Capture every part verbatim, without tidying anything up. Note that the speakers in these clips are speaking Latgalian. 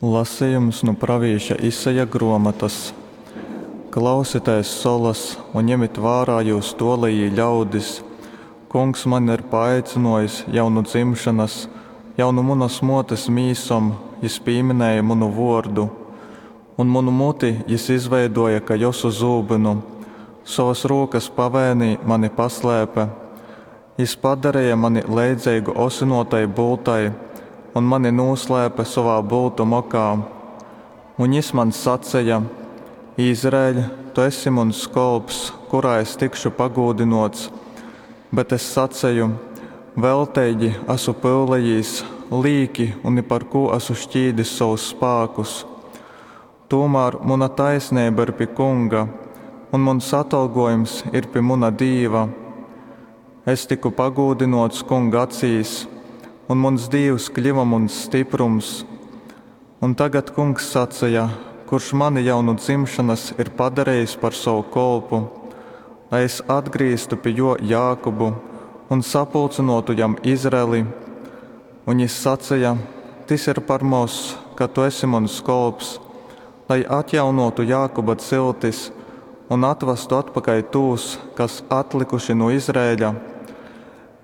Lasejums nu pravīša Isaja grōmotas. Klausitēs, solas, un jemit vārā jyus tōlejī ļaudis, Kungs mani ir paaicynōjis jau nu dzimšonas, jau nu munas mōtes mīsom jys pīminēja munu vōrdu. Un munu muti jys izveidōja kai osu zūbynu, sovas rūkas pavēnī mani paslēpe. Jys padareja mani leidzeigu osynōtai bultai un mani nūslēpe sovā bultu mokā. Un jys man saceja, Izraeļ, tu esi muns kolps, kurā es tikšu pagūdynōts. Bet es saceju, Velteigi asu pyulējīs, līki un ni par kū asu šķīdis sovus spākus. Tūmār muna taisneiba ir pi Kunga, un muns atolgōjums ir pi muna Dīva. Es tyku pagūdynōts Kunga acīs, un muns Dīvs kļyva muns styprums. Un tagad Kungs saceja, kurš mani jau nu dzimšonas ir padarejis par sovu kolpu, lai es atgrīztu pi jō Jākubu un sapulcynōtu jam Izraeli. Un jys saceja, Tys ir par moz, ka tu esi muns kolps, lai atjaunōtu Jākuba ciltis un atvastu atpakaļ tūs, kas atlykuši nu Izraeļa.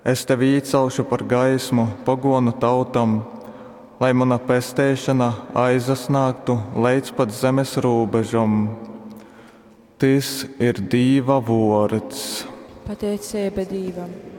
Es tevi īcelšu par gaismu pogōnu tautom, lai muna pesteišona aizasnāgtu leidz pat zemes rūbežom. Tys ir Dīva vōrds. Pateiceiba Dīvam.